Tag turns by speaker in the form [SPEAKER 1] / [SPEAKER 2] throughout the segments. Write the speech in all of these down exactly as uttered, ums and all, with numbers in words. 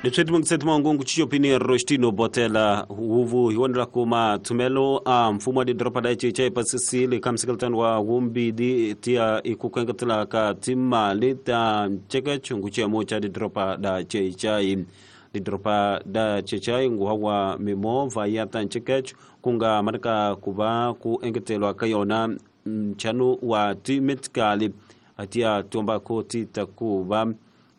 [SPEAKER 1] Leswi ngu Rostino Botela huvu hi kuma thumelo a mfumo wa didoropa da Icece pasisile ka msekeltano wa wumbidi tia ikukengetela ka timali ta ncekecho nguchemo cha didoropa da Icece didoropa da Icece nguhawa mimovha ya ta ncekecho kunga marika kuva ku engetelwa ka yona mchano wa timetikali atia tomba koti takuva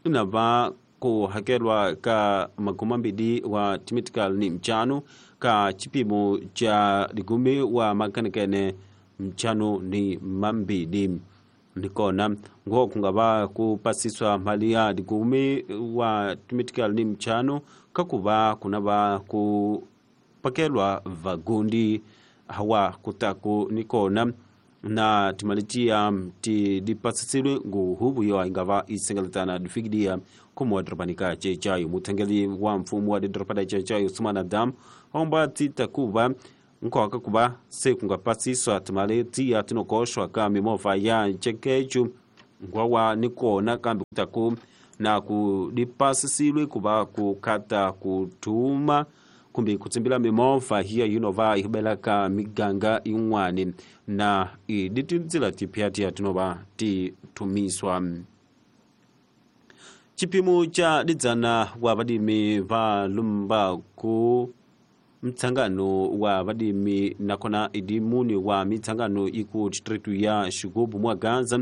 [SPEAKER 1] inava ku hakelwa ka magumambidi wa timetikali ni mchano ka chipimo cha ligumi wa makanekene mchano ni mambidi nikona ngo kungava kupasiswa mali ya ligumi wa timetikali ni mchano kakuva kunava kupakelwa vagundi hawa kutaku nikona na timalitia ti dipasisilwe nguhubu yo ingava isengeletana difikidia kumwa dropanika chechayo mutengeli wa mfumo wa dropada chechayo Sumana Dam omba titakuba nkoka kuba se kungapasiswa timali ya tinokoshwa ka mimofa ya chekechu ngwawa nikona kambi kutaku na kudipasisilwe kuba kukata kutuma kumbi kutsimbila mimofa hiya yinova ihubelaka miganga inwani na iditinzila tipyati tinova titumiswa. Chipimo cha didzana wa vadimi va lumba ku mtsangano wa vadimi nakona idimuni wa mitsangano iku district ya Xigubu mwa Gaza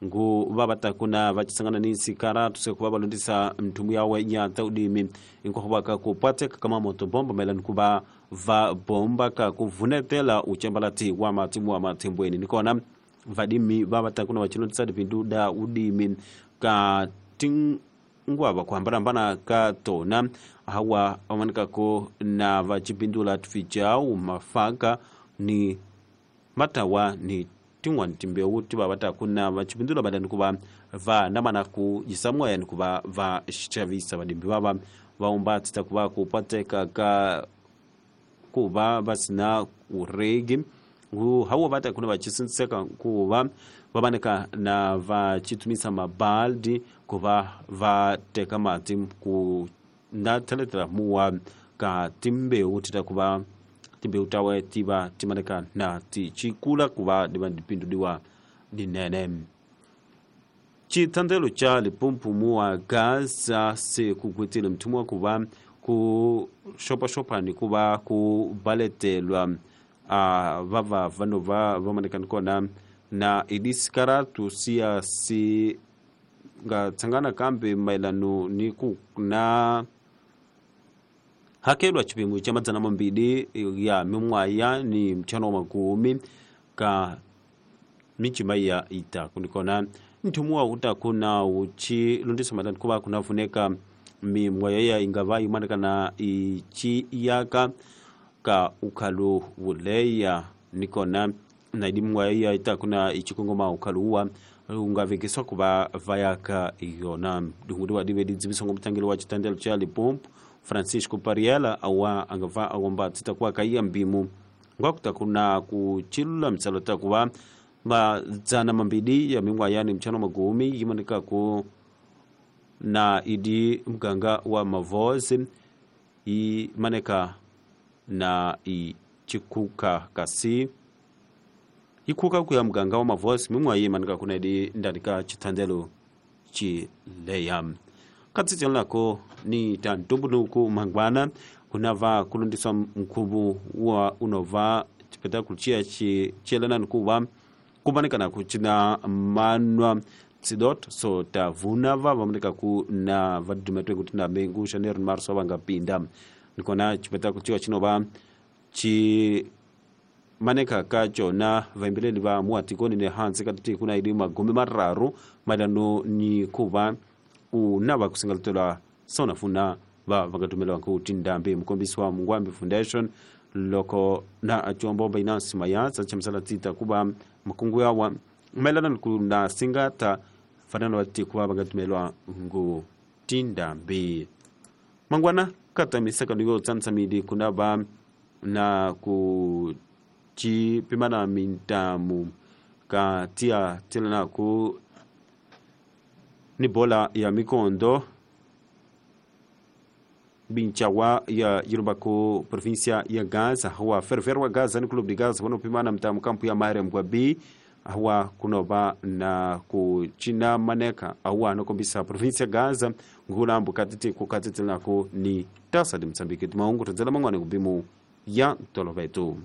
[SPEAKER 1] ngu vavatakuna vachisangana ni sikara tusekuva valondisa mthumu yawe ya taudimi inkohuvaka kupateka kama moto bomba maelani kuva va bomba ka kuvunetela uchembalati wa matimu wa matimbweni nikona vadimi vavatakuna vachilondisa dipindu da udimi ka tingwava kuhambanahambana ka tona hawa vamanikako na vachipindula tufichau mafaka ni matawa ni tin'wani timbewu ti va va ta kuna vachipindula badani kuva va namana ku yisamwa yani kuva va xavisa vadimbi vava va umba tita kuva ku pateka ka kuva va sina uregi hawa va ta kuna vachisintseka kuva va vaneka na va chitumisa mabaldi kuva va teka mati ku na theletela muwa ka timbewu tita kuva timbewu tawe tiva timaneka na tichikula kuva divandipinduliwa dinene. Chitandelo cha Limpopo muwa Gaza se kugwetile mthumwa kuva ku shopa ni kuva ku baletelwa a vava vanova vamaneka nikona na idisikaratu siya si nga tsangana kambe maelano ni ku na hakelwa chipimo cha madzana mambili ya mimwaya ni mchano makumi ka michima ya ita kunikona nthumuwa utakuna uchi lundisa madani kuva kunafuneka mimwaya ya ingava imanekana ichi yaka ka ukhalu wuleya nikona na idimwaya ya itakuna ichikongoma ukhalu ungavikiswa kuva vayaka yona dungudiwa dive didziviso ngomutangeli wa chitandelo cha Limpopo Francisco Pariela awa angava awomba titakuwa kaiya mbimu ngwakutakuna kuchilula mtsalo takuva madzana mambili ya mingwayani mchano magumi yimanika ku na idi mganga wa mavozi imaneka na ichikuka kasi ikuka kuya mganga wa mavozi mingwa yimanika kuna idi ndandika chitandelo chileya katsitselako ni tantumbunuku mangwana kunava kulundiswa mkhubu wa unova chipetakulu chiya chiyelana nikuva kumanikana kuchina manwa tsidot so tavunava vamanika ku na vadumetwe kuti na mengu Janeiro marso vangapinda nikona chipetakulu chiwa chinova chi maneka kachona vaimbeleli va muatikoni ne hansi katiti kuna ili magumi mararu maelano ni kuva unava kusingalitelwa sonafuna va vangatumela ku tindambi mukombisi wa Mungwambi Foundation loko na achombo Binance Mayatsa chamsala tita kuba makungu yawa maelana na singata fanana vati kuva vangatumelwa ngu tindambi mangwana kata misaka ndiyo tsansamidi kunava na ku chipimana mintamu ka tia tilana ku ni bola ya mikondo Binchawa ya yilobako província ya Gaza wa Ferroviário wa Gaza ni Clube de Gaza wanopimana mtamu kampu ya Mariam kwa B awa kunoba na kuchina maneka awa nokombisa província ya Gaza ngulambo katiti kukatiti nako ni tasa de Moçambique timaungu tadzela mang'wane kubimu ya tolovetu.